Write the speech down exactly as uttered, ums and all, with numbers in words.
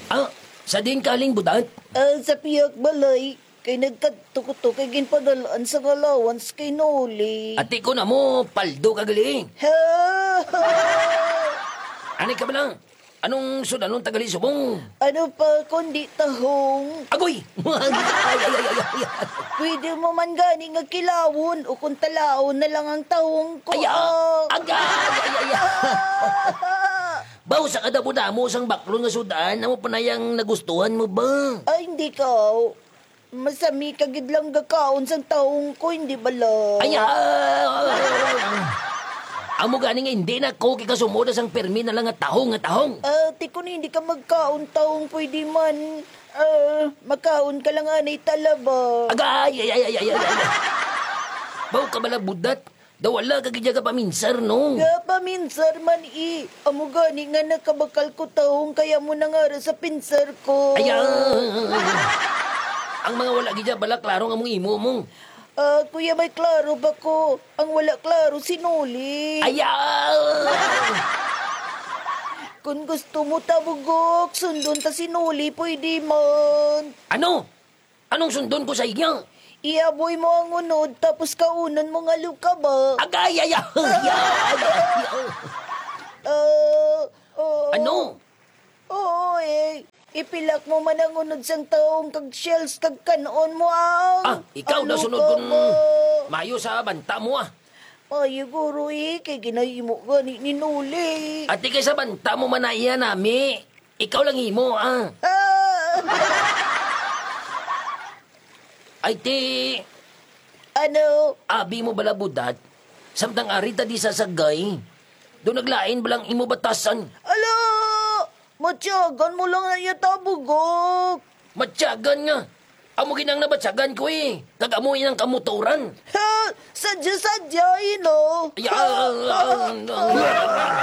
Ah, sa diin ka halin, Budat? Ah, sa pihak balay, kay nagkadto ko to kay ginpadalaan sang allowance kay Noli. Ati ko na mo, paldo ka gali. Ha? Ani ka bala? Anong sudanon ta gali subong? Ano pa kundi tahong? Agoy! Ay, ay, ay, ay, ay. Pwede mo man gani nga kilawon o kung talaon na lang ang tahong ko. Ay, ah, ah. Agay, ay, ay, ay. Ah. Baw sa kadamo-damo sang baklon nga sudan, amo pa na yang nagustuhan mo ba? Ay, hindi ka. Masami ka gid lang gakaon sang tahong ko, hindi bala? Ay, ah. Amo gani nga hindi na ko kay kasumod sang permi na lang nga tahong nga tahong. Ah, ti kun hindi ka magkaon tahong, pwede man. Ah, makaon ka lang anay talaba. Agay, ay, ay, ay, ay, ay, ay. Baw ka bala, Budat? Daw wala ka gid ka paminsar, no? Nga paminsar man, i. Amo gani nga nakabakal ko tahong kaya mo nangara sa pinsar ko. Ay, ah. Ang mga wala gid bala klaro nga mong imo mo. Ah, kuya, may klaro ba ko? Ang wala klaro, si Noli. Ay, ah. Kung gusto mo tabugok, sundon ta si Noli, pwede man. Ano? Anong sundon ko sa iya? Iaboy mo ang unod, tapos kaunon mo nga luka ba? Agay, ay, ay, ay, ay, ay. Ah, oo. Ano? Oo, eh. Ipilak mo man ang unod sang tahong kag shells kag kan-on mo ang, ah, ikaw ang na sunod luka kung mo. Mayo sa banta mo, ah. Ay, guro, eh, kay ginahimo gani ni Noli. Ati kay sa banta mo man na iya nami. Ikaw lang himo, ah. Ah! Ay, ti. Ano? Abi mo bala, Budat? Samtang ari ta di sa sagay. Do naglain balang imo batasan? Ala! Matyagan mo lang na iya tabugok. Matyagan nga. Amo ginang nabatyagan ko, eh. Kag amo inang kamotoran. Ha? Sadya-sadya, eh, no? Ay, ah, ah, ah, ah.